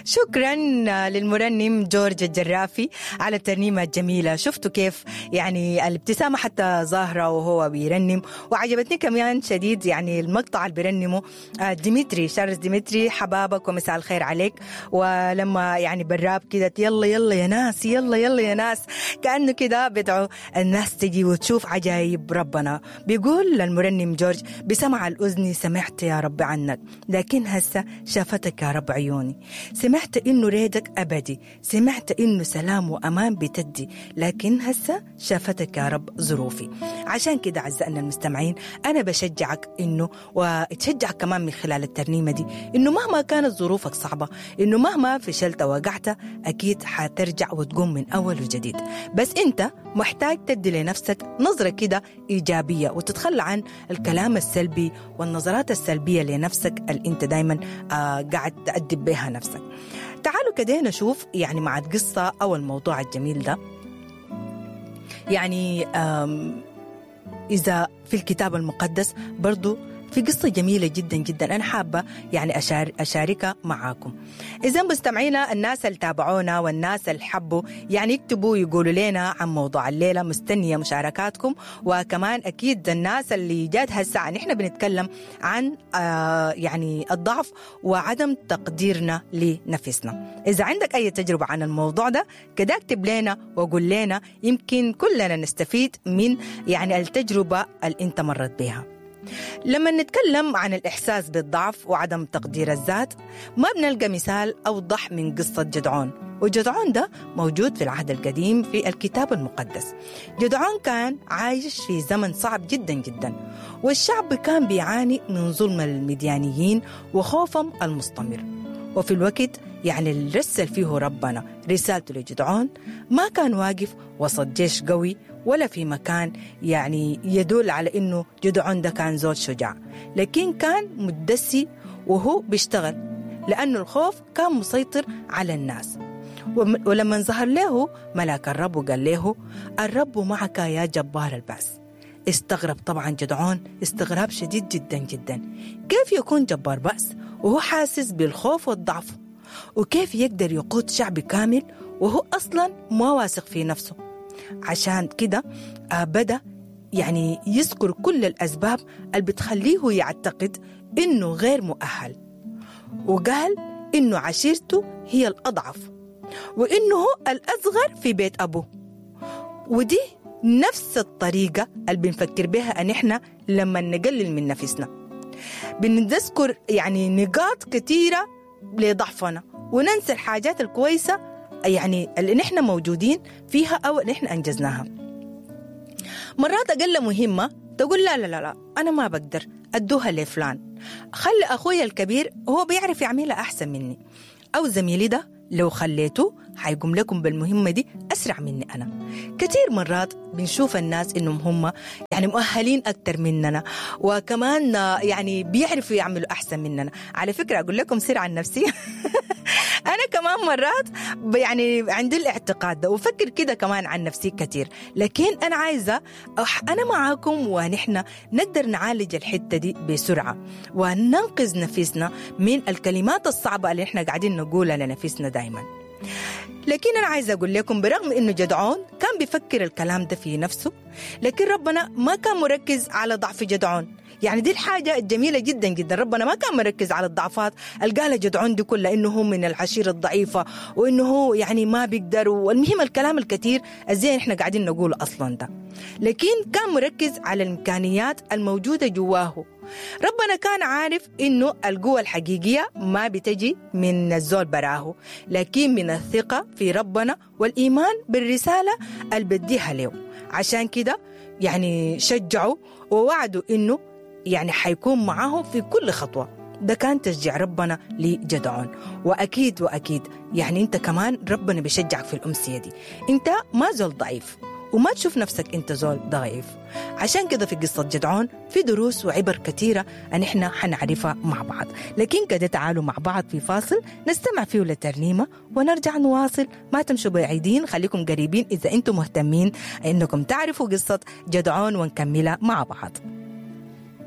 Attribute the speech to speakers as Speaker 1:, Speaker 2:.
Speaker 1: شكرا للمرنم جورج الجرافي على الترنيمة الجميلة. شفتوا كيف يعني الابتسامة حتى ظاهرة وهو بيرنم، وعجبتني كمان شديد يعني المقطع اللي بيرنمه ديمتري، شارلز ديمتري، حبابك ومساء الخير عليك. ولما يعني بالراب كده يلا يلا يا ناس، يلا يلا يا ناس، كأنه كده بدعو الناس تجي وتشوف عجايب ربنا. بيقول المرنم جورج: بسمع الأذن سمعت يا رب عنك، لكن هسه شافتك يا رب عيوني. سمعت إنه ريدك أبدي، سمعت إنه سلام وأمان بتدي، لكن هسه شافتك يا رب ظروفي. عشان كده أعزائنا المستمعين، أنا بشجعك إنه، وتشجعك كمان من خلال الترنيمة دي، إنه مهما كانت ظروفك صعبة، إنه مهما فشلت ووقعت، أكيد حترجع وتقوم من أول وجديد. بس أنت محتاج تدي لنفسك نظرة كده إيجابية، وتتخلى عن الكلام السلبي والنظرات السلبية لنفسك اللي أنت دايما قاعد تأدب بها نفسك. تعالوا كده نشوف يعني مع القصة أو الموضوع الجميل ده، يعني إذا في الكتاب المقدس برضو في قصة جميلة جدا جدا أنا حابة يعني أشاركها معاكم. إذا مستمعينا، الناس اللي تابعونا والناس اللي حبوا يعني يكتبوا يقولوا لنا عن موضوع الليلة، مستنية مشاركاتكم. وكمان أكيد الناس اللي جات هالساعة، نحن بنتكلم عن يعني الضعف وعدم تقديرنا لنفسنا. إذا عندك أي تجربة عن الموضوع ده كده اكتب لنا وقول لنا، يمكن كلنا نستفيد من يعني التجربة اللي أنت مرت بها. لما نتكلم عن الإحساس بالضعف وعدم تقدير الذات، ما بنلقى مثال أوضح من قصة جدعون. وجدعون ده موجود في العهد القديم في الكتاب المقدس. جدعون كان عايش في زمن صعب جدا جدا، والشعب كان بيعاني من ظلم المديانيين وخوفهم المستمر. وفي الوقت يعني اللي رسل فيه ربنا رسالته لجدعون، ما كان واقف وسط جيش قوي ولا في مكان يعني يدل على إنه جدعون ده كان زول شجاع، لكن كان متدسي وهو بيشتغل، لأنه الخوف كان مسيطر على الناس. ولما ظهر له ملاك الرب وقال له: الرب معك يا جبار البأس. استغرب طبعا جدعون استغراب شديد جدا جدا، كيف يكون جبار بأس وهو حاسس بالخوف والضعف؟ وكيف يقدر يقود شعب كامل وهو أصلا ما واثق في نفسه؟ عشان كده بدأ يعني يذكر كل الأسباب اللي بتخليه يعتقد إنه غير مؤهل، وقال إنه عشيرته هي الأضعف، وإنه هو الأصغر في بيت أبوه. ودي نفس الطريقة اللي بنفكر بها أن إحنا لما نقلل من نفسنا، بنذكر يعني نقاط كثيرة لضعفنا وننسى الحاجات الكويسة يعني اللي نحن موجودين فيها أو اللي نحن أنجزناها. مرات أقل مهمة تقول لا لا لا لا أنا ما بقدر، أدوها لفلان، خلي أخوي الكبير هو بيعرف يعملها أحسن مني، أو زميلي ده لو خليته حيقوم لكم بالمهمة دي أسرع مني أنا. كثير مرات بنشوف الناس إنهم هم يعني مؤهلين أكتر مننا، وكمان يعني بيعرفوا يعملوا أحسن مننا. على فكرة أقول لكم سر عن نفسي أنا كمان مرات يعني عندي الاعتقاد ده وفكر كده كمان عن نفسي كثير، لكن أنا عايزة أنا معاكم ونحن نقدر نعالج الحتة دي بسرعة وننقذ نفسنا من الكلمات الصعبة اللي إحنا قاعدين نقولها لنفسنا دايما. لكن أنا عايزة أقول لكم برغم إنه جدعون كان بيفكر الكلام ده في نفسه، لكن ربنا ما كان مركز على ضعف جدعون. يعني دي الحاجة الجميلة جدا جدا، ربنا ما كان مركز على الضعفات اللي قالها جدعون دي كلها، إنه هو من العشيرة الضعيفة وإنه هو يعني ما بيقدر، والمهم الكلام الكثير الزي إحنا قاعدين نقوله أصلا ده، لكن كان مركز على الإمكانيات الموجودة جواه. ربنا كان عارف إنه القوة الحقيقية ما بتجي من الزول براه، لكن من الثقة في ربنا والإيمان بالرسالة اللي بديها له. عشان كده يعني شجعوا ووعدوا إنه يعني حيكون معاه في كل خطوة. ده كان تشجيع ربنا لجدعون. وأكيد وأكيد يعني أنت كمان ربنا بيشجعك في الأمسية دي. أنت ما زول ضعيف وما تشوف نفسك أنت زول ضعيف. عشان كده في قصة جدعون في دروس وعبر كثيرة أن إحنا حنعرفها مع بعض، لكن كده تعالوا مع بعض في فاصل نستمع فيه لترنيمة ونرجع نواصل. ما تمشوا بعيدين، خليكم قريبين إذا أنتم مهتمين أنكم تعرفوا قصة جدعون ونكملها مع بعض.